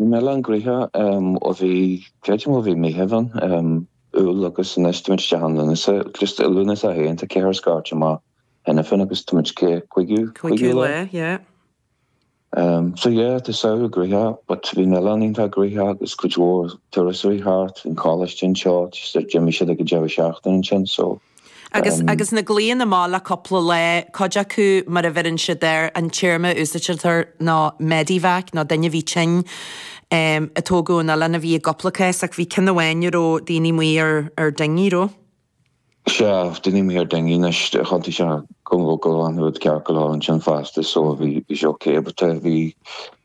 Bhí an oileán gnoitheach ó bhí, creidim ó bhí Meitheamh ann, Iúil agus anois táimid isteach in Lúnasa, just i Lúnasa féin tá ceithre scairte amach cheana féin agus táimid cé, cúigiú, cúigiú lá, yeah. So yeah, tá samhradh gnoitheach but bhí an oileán iontach gnoitheach agus cuid mhór turasóirí thart, bhí an coláiste anseo, just d'imigh siad ag an deireadh seachtaine ansin so. Agus agus na glaonna amach le cúpla lá, cuid acu mar a bheireann siad air, an téarma a úsáidtear ná medevac nó duine a bhí tinn a tógadh ón oileán a bhí i gcúpla cás ach bhí ceann amháin a raibh daoine amuigh ar ar dinghy, raibh? Sea, daoine amuigh ar dinghy anois, chontae sé go go raibh an rud ceart go leor ansin fosta so bhí bhí sé ok but bhí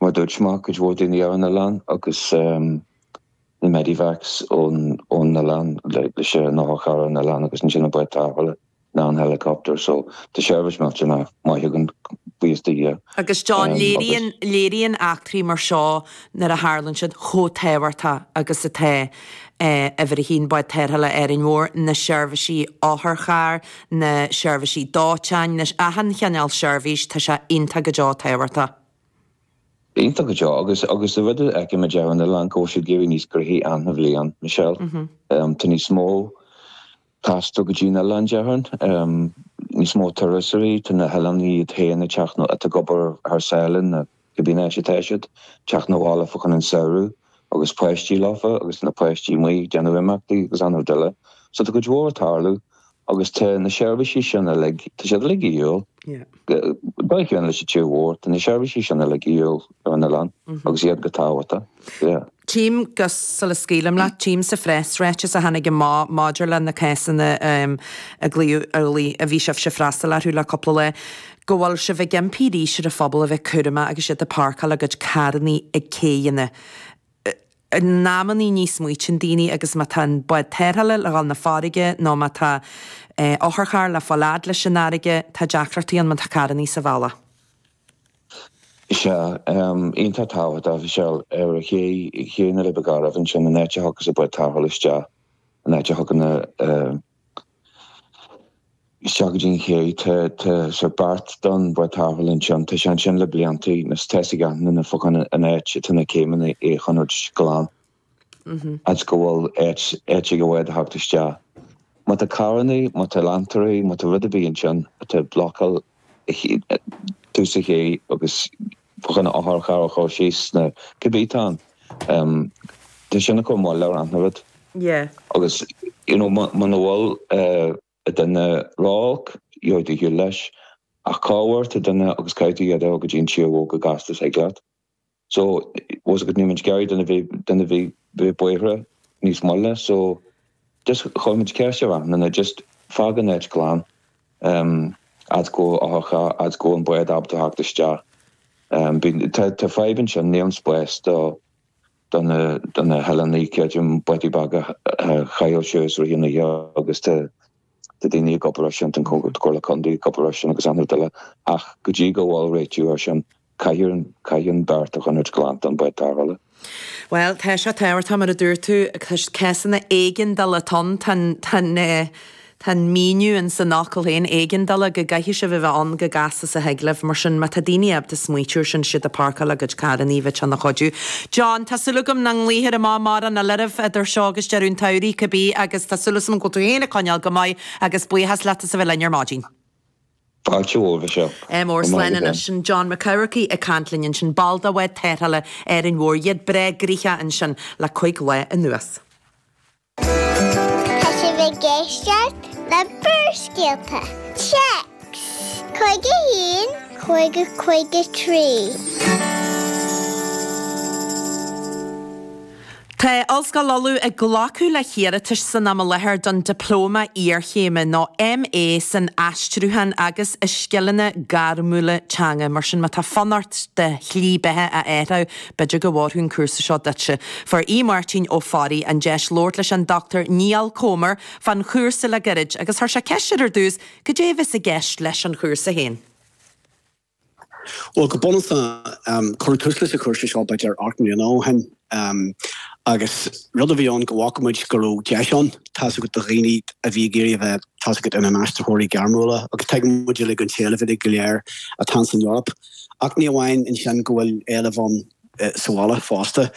mar a dúirt mé cuid mhór daoine ar an oileán agus na medevacs ón ón oileán leis an otharcharr ar an oileán agus ansin an bád tarrthála ná an helicopter so tá seirbhís millteanach maith againn buíochas do Dhia. Agus John, léiríonn, léiríonn eachtraí mar seo nuair a tharlann siad chomh tábhachtach agus atá uimhir a haon bád tarrthála Árainn Mhór, na seirbhísí otharchairr, na seirbhísí dóiteáin, na, achan chineál seirbhís, tá sé iontach go deo tábhachtach. Iontach go deo agus agus an rud a fheicimid ar an oileán go bhfuil siad ag éirí níos gnoithí achan bhliain, Michelle. Tá níos mó taisteal go dtí an oileán déarfainn, níos mó turasóirí, tá na hoileánaigh iad féin ag teacht nó atá ag obair thar sáile nó cibé áit atá siad, teacht 'na bhaile fá choinne an samhradh agus páistí leofa agus na páistí amuigh ag déanamh imeachtaí agus an rud eile. So tá cuid mhór ag tarlú agus tá na seirbhísí sin uilig, tá siad uilig a dhíobháil. Dóigh chéanna leis an tír mhór, tá na seirbhísí sin uilig a dhíobháil ar an oileán agus iad go tábhachtach. Yeah. Tchím, gus sula scaoilim leat, tchím sa phreasráiteas a tháinig amach maidir le na cásanna a glaodh a bhí sibhse ag freastal orthu le cúpla lá, go bhfuil sibh ag impí arís ar an phobal a bheith cúramach agus iad ag páirceáil a gcuid carrannaí ag céidheanna. In amannaí ní smaoitíonn daoine agus má tá an bád tarrthála le dhul 'na farraige nó má tá otharcharr le fáil fhad leis an fharraige, tá deacrachtaí ann má tá carrannaí sa bhealach. Sea, iontach tábhachtach, Michelle, ar ché, Ché na Leidhbe Gairbhe ansin, an áit a thiocfas an bád tarrthála isteach, an áit a thiocfaidh na, isteach go dtí an ché, tá, tá sort beart don bhád tarrthála ansin, tá sé ansin le blianta, agus tá 'fhios ag achan duine fá choinne an áit atá na céimeanna é a choinneáilt glan. Fhad go bhfuil áit áit ag an bhád a theacht isteach. Má tá carrannaí, má tá leantóirí, má tá rud ar bith ansin atá ag blocáil tús an ché agus fá choinne otharcharr a chur síos nó cibé atá ann, tá sin ag cur moill ar achan rud. Agus you know muna bhfuil duine ró-olc, gheobhaidh tú ar shiúl leis. Ach cá huair tá duine agus caithfidh tú iad a fháil go dtí an tír mhór go gasta is thig leat. So, bhfuil 's agat níl muid ag iarraidh duine bheith, duine bheith, bheith buartha níos moille. So, just chuir muid ceist ar achan duine, just fág an áit glan, um, fhad go otharcharr, fhad go an bád ábalta theacht isteach. Um, bíonn, tá, tá fadhb ansin, níl an spás do, do na, do na hoileánaigh, creidim, bádaí beaga a chaitheamh suas i rith an oíche agus tá, tá daoine ag obair ar sin, tá an Comhairle Contae ag obair ar sin agus an rud eile ach go dtí go bhfuil réitiú ar sin, Caithfidh, caithfidh an beart a choinneáilt glan don bád tarrthála. Bhuel, tá sé tábhachtach, mar a dúirt tú, cásanna éigeandála atá ann, tá an, tá an eh, tá an míniú in san fhocal féin, éigeandála, go gcaithfidh sibh a bheith ann chomh gasta is a thig libh. Mar sin, má tá daoine ábalta smaoitiú ar sin, siad ag páirceáil a gcuid carrannaí, bheadh sé ina chuidiú. John, tá súil agam nach nglaofar amach mórán eile oraibh idir seo agus deireadh an tsamhraidh, cibé, agus tá súil agam go bhfuil tú féin ag coinneáil go maith agus buíochas leat as a bheith linn ar maidin. Fáilte mhór, Michelle. Ádh mór slán anois. Sin John Mac Eamharcaigh ag caint linn ansin, ball de bhád tarrthála Árainn Mhór. Iad breá gnoitheach ansin le cuig lá anuas. Tá sibh ag éisteacht le Barrscéalta. Téacs 51 50 53. Tá Ollscoil Uladh ag glacadh le hiarratais san am i láthair don Dioplóma Iarchéime nó MA san Aistriúchán agus i Scileanna Gairmiúla Teanga. Mar sin, má tá fonn ort do shlí beatha a athrú, b'fhéidir go bhfóirfeadh an cúrsa seo duitse. Fuair Aodh Máirtín Ó Fearraigh an deis labhairt leis an Dr Niall Comer fán chúrsa le gairid agus chuir sé ceist air ar dtús cad é a bheas i gceist leis an chúrsa féin. Bhuel, go bunúsach, cuireadh tús leis an chúrsa seo b'fhéidir 8 mbliana ó shin agus rud a bhí ann go bhfaca muid go raibh deis ann, tá's agat, do dhaoine a bhí ag iarraidh a bheith, tá's agat, ina n-aistritheoirí gairmiúla agus tuigeann muid uilig an t-éileamh uilig go léir atá ann san Eoraip. Ach ní amháin ansin go bhfuil éileamh ann sa bhaile fosta.